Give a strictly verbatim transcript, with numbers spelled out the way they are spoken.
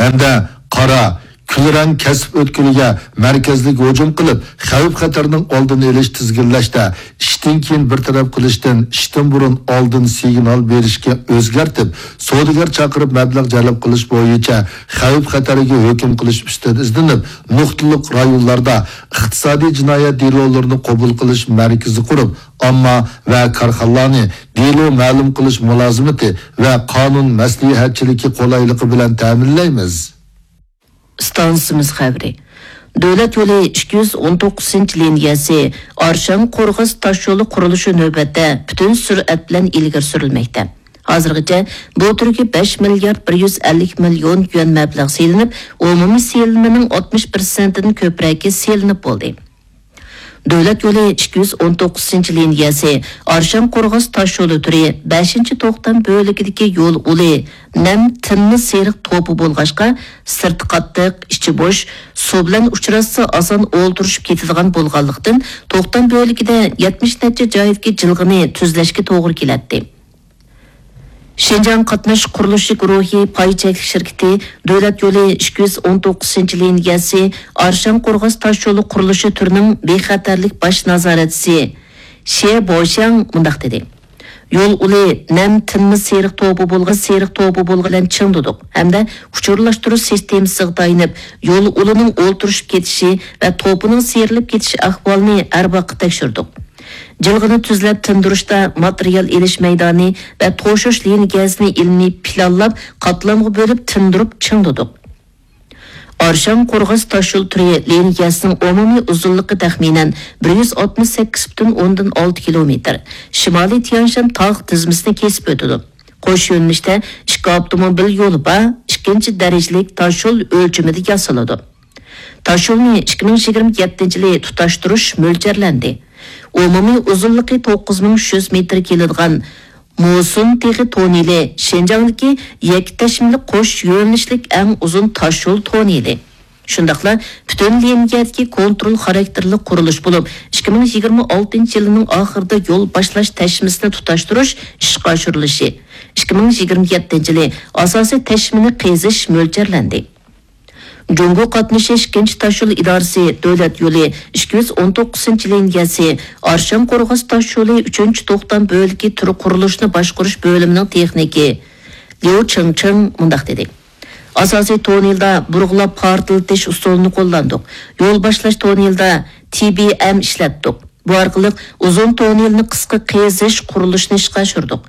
ھەمدە قارا، كۈلرەڭ كەسىپ ئۆتكىلىگە مەركەزلىك ھۇجۇم قىلىپ، خەۋپ-خەتەرنىڭ ئالدىنى ئېلىش، تىزگىنلەشتە ئىشتىن كېيىن بىر تەرەپ قىلىشتىن ئىشتىن بۇرۇن ئالدىن سىگنال بېرىشكە ئۆزگەرتىپ، سودىگەر چاقىرىپ مەبلەغ جەلپ قىلىش بويىچە خەۋپ-خەتەرگە ھۆكۈم قىلىش ئۈستىدە ئىزدىنىپ، نۇقتىلىق رايونلاردا ئىقتىسادىي جىنايەت دېلولىرىنى قوبۇل قىلىش مەركىزى قۇرۇپ، ئامما ۋە كارخانىلارنى دېلو مەلۇم قىلىش مۇلازىمىتى ۋە قانۇن مەسلىھەتچىلىكى قولايلىقى بىلەن تەمىنلەيمىز. ئىستانسىمىز خەۋىرى. دۆلەت يولى ئىككى يۈز ئون توققۇزىنچى لىنىيەسى ئارشان قورغاس تاشيولى قۇرۇلۇشى نۆۋەتتە پۈتۈن سۈرئەت بىلەن ئىلگىرى سۈرۈلمەكتە. ھازىرغىچە بۇ تۈرگە بەش مىليارد بىر يۈز ئەللىك مىليون يۈەن مەبلەغ سېلىنىپ، ئومۇمىي سېلىنمىنىڭ ئاتمىش پىرسەنتىدىن كۆپرەكى سېلىنىپ بولدى. دۆلەت يولى ئىككى يۈز ئون توققۇزىنچى لىنىيەسى ئارشان قورغاس تاشيولى تۈرى بەشىنچى توختام بۆلىكىدىكى يول ئۇلى نەم تىنما سېرىق توپى بولغاچقا، سىرتى قاتتىق، ئىچى بوش، سۇ بىلەن ئۇچراشسا ئاسان ئولتۇرۇشۇپ كېتىدىغان بولغانلىقتىن، توختام بۆلىكىدە يەتمىش نەچچە جايدىكى جىلغىنى تۈزلەشكە توغرا كېلەتتى. شىنجاڭ قاتناش قۇرۇلۇشى گۇرۇھى پاي چەكلىك شىركىتى دۆلەت يولى ئىككى يۈز ئون توققۇزىنچى لىنىيەسى ئارشان قورغاس تاشيولى قۇرۇلۇشى تۈرىنىڭ بىخەتەرلىك باش نازارەتچىسى شې بوشياڭ مۇنداق دېدى: يول ئۇلى نەم تىنما سېرىق توپى بولغان سېرىق توپى بولغان بىلەن چىڭدۇدۇق ھەمدە ئۇچۇرلاشتۇرۇش سىستېمىسىغا تايىنىپ، يول ئۇلىنىڭ ئولتۇرۇشۇپ كېتىشى ۋە توپىنىڭ سىيرىلىپ كېتىش ئەھۋالىنى ھەر ۋاقىت تەكشۈردۇق. جىلغىنى تۈزلەپ تىندۇرۇشتا ماتېرىيال ئېلىش مەيدانى ۋە توشۇش لىنىيەسىنى ئىلمىي پىلانلاپ، قاتلامغا بۆلۈپ تىندۇرۇپ چىڭدۇدۇق. ئارشان قورغاس تاشيول تۈرى لىنىيەسىنىڭ ئومۇمىي ئۇزۇنلۇقى تەخمىنەن بىر يۈز ئاتمىش سەككىز پۈتۈن ئوندىن ئالتە كىلومېتىر، شىمالىي تيەنشان تاغ تىزمىسىنى كېسىپ ئۆتىدۇ. قوش يۆنىلىشتە ئىككى ئاپتوموبىل يولى بار، ئىككىنچى دەرىجىلىك تاشيول ئۆلچىمىدە ياسىلىدۇ. تاشيولنى ئىككى مىڭ يىگىرمە يەتتىنچى يىلى تۇتاشتۇرۇش مۆلچەرلەندى. ئومۇمىي ئۇزۇنلۇقى توققۇز مىڭ ئۈچ يۈز مېتىر كېلىدىغان موسۇن تېغى توننېلى شىنجاڭدىكى يەككە تەشمىلىك قوش يۆنىلىشلىك ئەڭ ئۇزۇن تاشيول توننېلى. شۇنداقلا پۈتۈن لىنىيەدىكى كونترول خاراكتېرلىك قۇرۇلۇش بولۇپ، ئىككى مىڭ يىگىرمە ئالتىنچى يىلىنىڭ ئاخىرىدا يول باشلاش تەشمىسىنى تۇتاشتۇرۇش ئىشقا ئاشۇرۇلۇشى، ئىككى مىڭ يىگىرمە يەتتىنچى يىلى ئاساسىي تەشمىنى قېزىش مۆلچەرلەندى. جۇڭگو قاتنىشى ئىككىنچى تاشيول ئىدارىسى دۆلەت يولى ئىككى يۈز ئون توققۇزىنچى لىنىيەسى ئارشان قورغاس تاشيولى ئۈچىنچى توختام بۆلىكى تۈر قۇرۇلۇشىنى باشقۇرۇش بۆلۈمىنىڭ تېخنىكى ليۇ چىڭچىڭ مۇنداق دېدى: ئاساسىي توننېلدا بۇرغىلاپ پارتلىتىش ئۇسۇلىنى قوللاندۇق. يول باشلاش توننېلدا تى بى ئېم ئىشلەتتۇق. بۇ ئارقىلىق ئۇزۇن توننېلنى قىسقا قېزىش قۇرۇلۇشىنى ئىشقا ئاشۇردۇق.